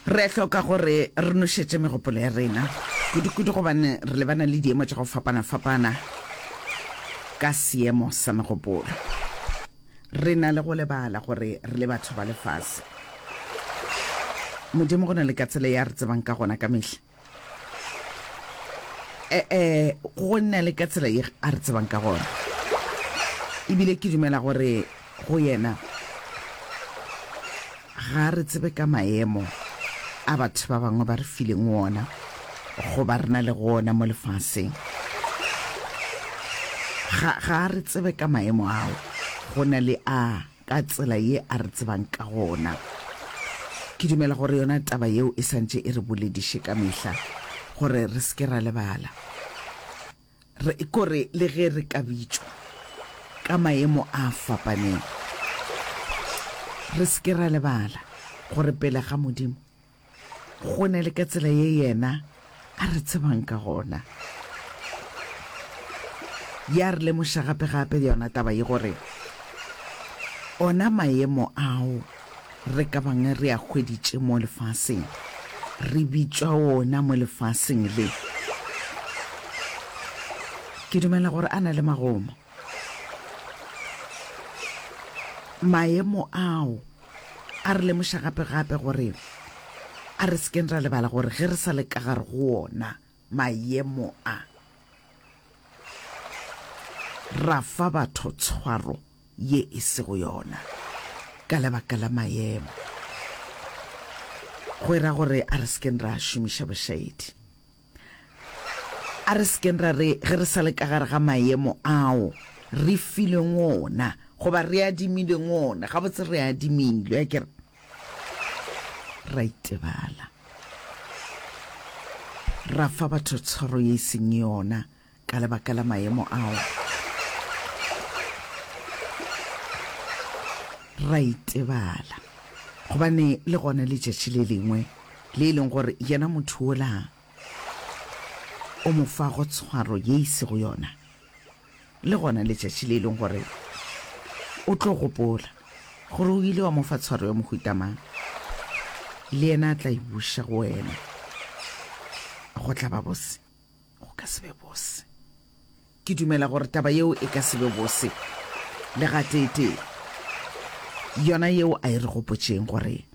Re hloka gore re nošetše megopolo ya rena, kudu-kudu gobane re lebana le diemo tša go fapana-fapana ka seemo sa megopolo. Re na le go lebala gore re le batho ba lefase. Modimo go na le ka tsela ye a re tsebang ka gona ka mehla. E-e, go na le ka tsela ye a re tsebang ka gona. Ebile ke dumela gore go yena ga a re tsebe ka maemo a batho ba bangwe ba re fileng wona goba re na le go ona mo lefaseng. Ga, ga a re tsebe ka maemo ao, go na le a. ka tsela ye a re tsebang ka gona. Ke dumela gore yona taba yeo e sa ntše e re bolediše ka mehla gore re se ke ra lebala. Re, kore le ge re ka bitšwa ka maemo a fapaneng, re se ke ra lebala gore pele ga Modimo Go na le ka tsela ye Yena a re tsebang ka gona. Ya re lemoša gape-gape yona taba ye gore ona maemo ao re ka bang re a hweditše mo lefaseng, re bitšwa ona mo lefaseng le. Ke dumela gore a na le magomo. Maemo ao A re lemoša gape-gape gore a re se keng ra lebala gore ge re sa le ka gare go wona maemo a, ra fa batho tshwaro ye e sego yona ka lebaka la maemo. Go e ra gore a re se keng ra šomiša bošaedi. A re se keng ra re ge re sa le ka gare ga maemo ao re filweng ona goba re adimilweng ona, gabotse re adimilwe, a ke re, ra itebala, ra fa batho tshwaro ye e seng yona ka lebaka la maemo ao. Ra itebala gobane le gona letšatši le lengwe le e leng gore yena motho wola o mo fago tshwaro ye e sego yona, le gona letšatši le e leng gore o tlo gopola gore o ile wa mo fa tshwaro ya mohuta mang, le yena a tla e buša go wena. Go tla ba bose? Go ka se be bose. Ke dumela gore taba yeo e ka se be bose le gateetee. Yona yeo a e re gopotšeng gore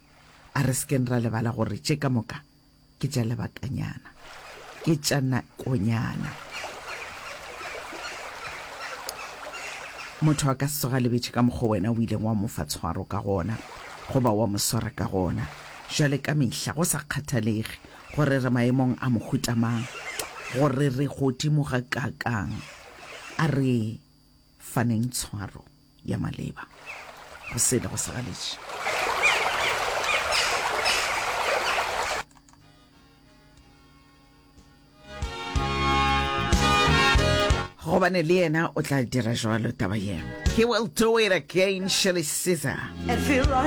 a re se keng ra lebala gore tše ka moka ke tša lebakanyana, ke tša nakonyana. Motho a ka se tsoge a lebetše ka mokgwa wena o ileng wa mo fa tshwaro ka gona goba wa mo swara ka gona. Bjale ka mehla, go sa kgathalege gore re maemong a mohuta mang, gore re godimo gakaakang, a re faneng tshwaro ya maleba go sele go sa galetše. Gobane le yena o tla dira jwalo taba ye. He will do it again, Shirley Caesar. And feel right.